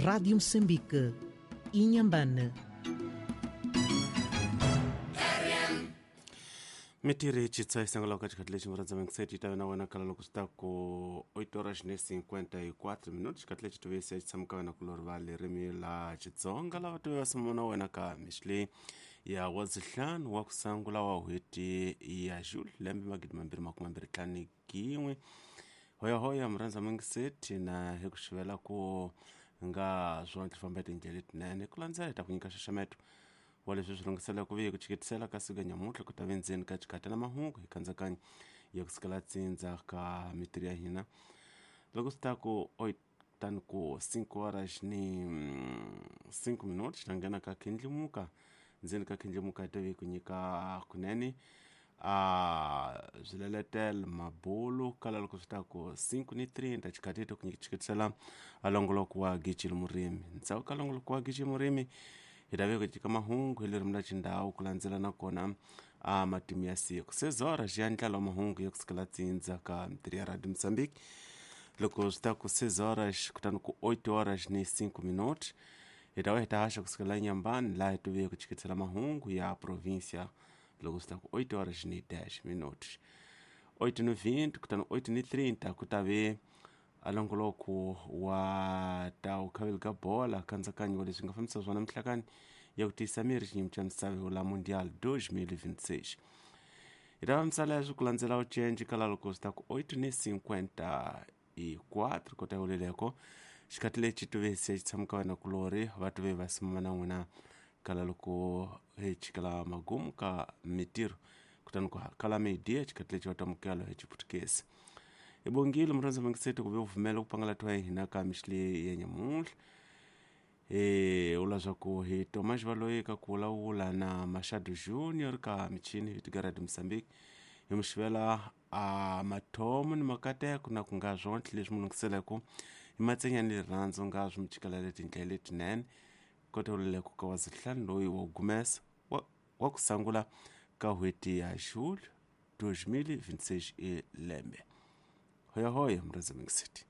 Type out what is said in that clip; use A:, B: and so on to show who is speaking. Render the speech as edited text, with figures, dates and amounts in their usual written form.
A: Rádio Moçambique, Inhambane.
B: Mitiri chitsa isangala ka xikhathi lexi murhandza mingiseti ta wena wena kala loko swi ta ku 8 horas ne 54 minutos. Xikhathi lexi tive se xi tshama ka wena kulori va ririmi la Xitsonga lava tive va sumuna wena ka mixi leyi ya wadzihlanu wa ku sangula wa n'hweti ya Julho lembe 2025. Hoyahoya murhandza mingiseti na hi ku xivela ku nga swontle famba tindlela letinene ku landzela hi ta ku nyika xaxameto wa leswi swi lunghisela ku ve ku chiketisela ka siku ya nyamuntlha ku ta ve ndzeni ka xikhata na mahungu hi kandzakanyo ya ku sukela tsindza ka mitirho ya hina loko swi ta ku tani ku 5 horas ni 5 minutos xi ta nghena ka khindlimuka ndzeni ka khindlimuka yi ta ve ku nyika kunene a swileletelo mabulu kala loko swi ta ku 5 ni 30 xikhathi to ku chiketisela a longoloko wa gicile murimi. Ndzhaku ka longoloko wa gicile murimi hi ta ve ku nyika mahungu hi ririmi ra xindhawu ku landzela nakona a matimu ya siku sezora xi ya ndlala wa mahungu ya kusukela tsindza ka mitirho ya Radio Mozambique. Loko swi ta ku 6 horas kutani ku 8 horas ni 5 minutos hi ta va hi ta haxa kusukela Nyambani laha hi tive ku chiketisela mahungu ya provincia. Loko swi ta ku 8 horas ni 10 minutos 8 ni 20 kutani 8 ni 30 ku ta ve a longoloko wa ta u khaveli ka bola kandzakanyo wa leswi nga fambisa swona mihlakani ya ku tiyisa miri xinyimi xa misava la Mundial 2026. Hi ta va misala ya swi ku landzela u cenci kala loko swi ta ku 8 ni 54 kota yoleleko xikhathi lexi tuve se xi tshama ka wena kulori va tuve va simama na n'wina kala loko hi chikela magumu ka mitirho kutani ku kala media xikhathi lexi va tamukelo hi Xiputukezi. Hi bongile murhandza mingiseti ku ve u pfumela ku pangala twa hina ka mixi leyi ya nyamuntlha. Ula swa ku hi Tomas Valoyi ka ku vulavula na Machado Junior ka michini hi tiga Radio Mozambique hi mu xivela a mathomo ni makateko na ku nga swontlhe leswi mu lunghiseleke hi matsenya ni rirhandzu nga swi mu chikela letindlela letinene kota uleleko ka wazihlanu loyi wa gumesa wa ku sangula ka n'hweti ya Julho 2026 e lembe. Hoya hoya murhandza mingiseti.